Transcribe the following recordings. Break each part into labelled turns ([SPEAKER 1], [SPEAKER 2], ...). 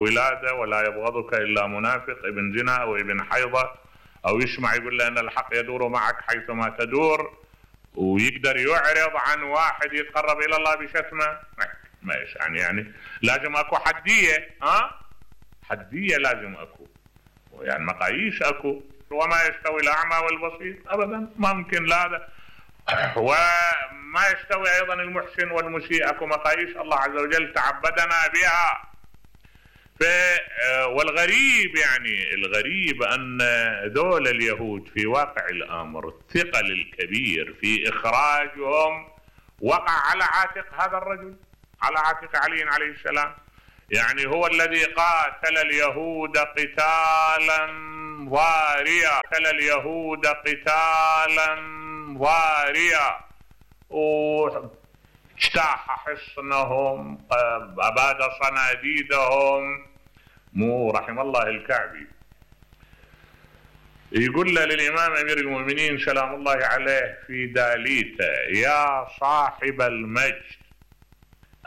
[SPEAKER 1] ولادة ولا يبغضك إلا منافق ابن زنا أو ابن حيضة، أو يسمع يقول له أن الحق يدور معك حيثما تدور، ويقدر يعرض عن واحد يتقرب إلى الله بشتمه. ماشي يعني لازم أكو حدية، حدية لازم أكو، يعني مقاييس أكو. وما يستوي الأعمى والبصير أبدا، ما ممكن لا. وما يستوي أيضا المحسن والمسيء، أكو مقاييس الله عز وجل تعبدنا بها. والغريب يعني الغريب أن ذول اليهود في واقع الأمر الثقل الكبير في إخراجهم وقع على عاتق هذا الرجل، على عاتق علي عليه السلام. يعني هو الذي قاتل اليهود قتالا ضاريا، قتل اليهود قتالا ضاريا، واجتاح حصنهم، أباد صناديدهم. مو رحم الله الكعبي يقول له للإمام أمير المؤمنين سلام الله عليه في داليته: يا صاحب المجد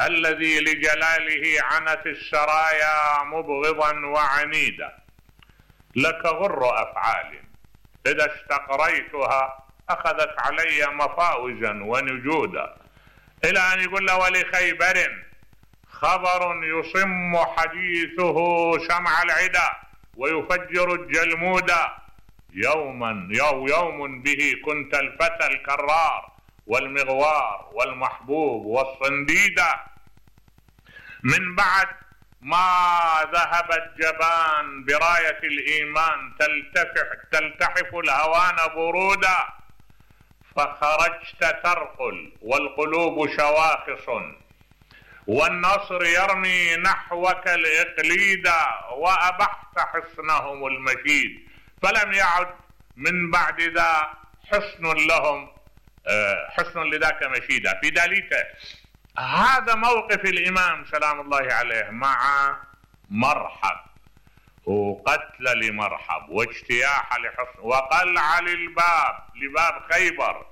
[SPEAKER 1] الذي لجلاله عنت السرايا مبغضا وعنيدا، لك غر أفعال إذا استقريتها أخذت علي مفاوزا ونجودا. إلى أن يقول له: ولخيبر خبر يصم حديثه سمع العدا ويفجر الجلمودا، يوم به كنت الفتى الكرار والمغوار والمحبوب والصنديدا. من بعد ما ذهب الجبان براية الإيمان تلتحف الهوان برودا، فخرجت ترقل والقلوب شواخص والنصر يرمي نحوك الإقليدا، وأبحت حصنهم المشيد فلم يعد من بعد ذا حصن لذاك مشيدا. في داليته هذا موقف الإمام سلام الله عليه مع مرحب، وقتل لمرحب واجتياح لحصن وقلع لباب خيبر،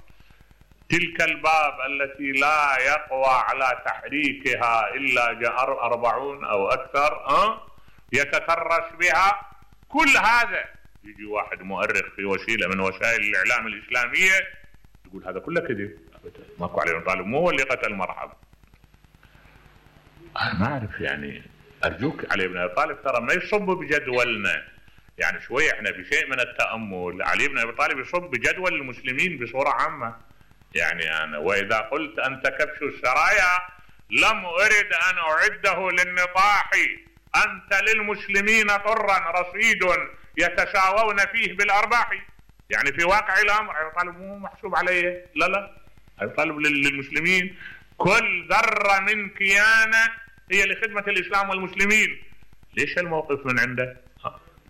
[SPEAKER 1] تلك الباب التي لا يقوى على تحريكها إلا 40 أو أكثر يتترس بها. كل هذا يجي واحد مؤرخ في وسيلة من وسائل الإعلام الإسلامية يقول هذا كله كذب، ماكو علي بن طالب مو هو اللي قتل مرحب. أنا ما أعرف، يعني أرجوك علي بن أبي طالب ترى ما يصب بجدولنا، يعني شوية احنا بشيء من التأمل. علي بن أبي طالب يصب بجدول المسلمين بصورة عامة. يعني أنا وإذا قلت أنت كبش السرايا لم أرد أن أعده للنطاح، أنت للمسلمين طرا رصيد يتساوون فيه بالأرباح. يعني في واقع الأمر أبي طالب مو محسوب عليه، لا أبي طالب للمسلمين كل ذرة من كيانه هي لخدمة الإسلام والمسلمين. ليش الموقف من عنده؟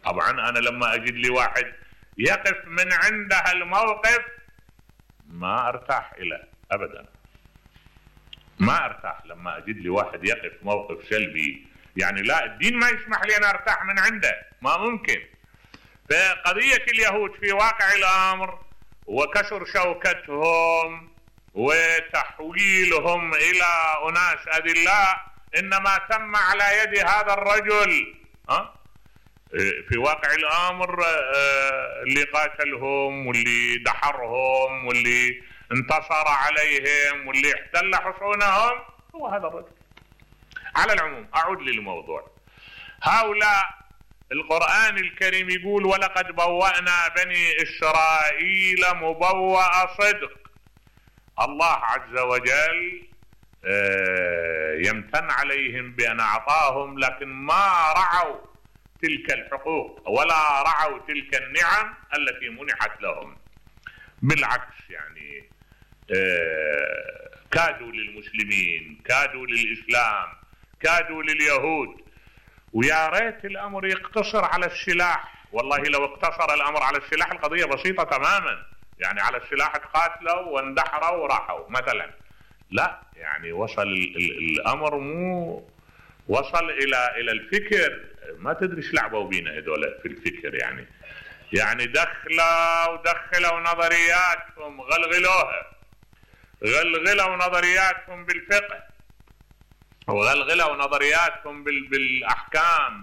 [SPEAKER 1] طبعا أنا لما أجد لي واحد يقف من عنده الموقف ما أرتاح إليه أبدا، ما أرتاح لما أجد لي واحد يقف موقف سلبي. يعني لا، الدين ما يسمح لي أن أرتاح من عنده، ما ممكن. فقضية اليهود في واقع الأمر وكسر شوكتهم وتحويلهم إلى أناس أذلاء إنما تم على يد هذا الرجل. في واقع الأمر اللي قاتلهم واللي دحرهم واللي انتصر عليهم واللي احتل حصونهم هو هذا الرجل. على العموم أعود للموضوع. هؤلاء القرآن الكريم يقول: ولقد بوأنا بني إسرائيل مبوأ صدق. الله عز وجل يمتن عليهم بأن أعطاهم، لكن ما رعوا تلك الحقوق ولا رعوا تلك النعم التي منحت لهم. بالعكس، يعني كادوا للمسلمين، كادوا للإسلام، كادوا لليهود. ويا ريت الأمر يقتصر على السلاح. والله لو اقتصر الأمر على السلاح القضية بسيطة تماما. يعني على السلاح تقاتلوا واندحروا وراحوا مثلا، لا، يعني وصل الأمر مو وصل إلى الفكر. ما تدري ايش لعبوا بينا هذول في الفكر. يعني دخلوا نظرياتهم، غلغلوا نظرياتهم بالفقه، وغلغلوا نظرياتهم بالأحكام،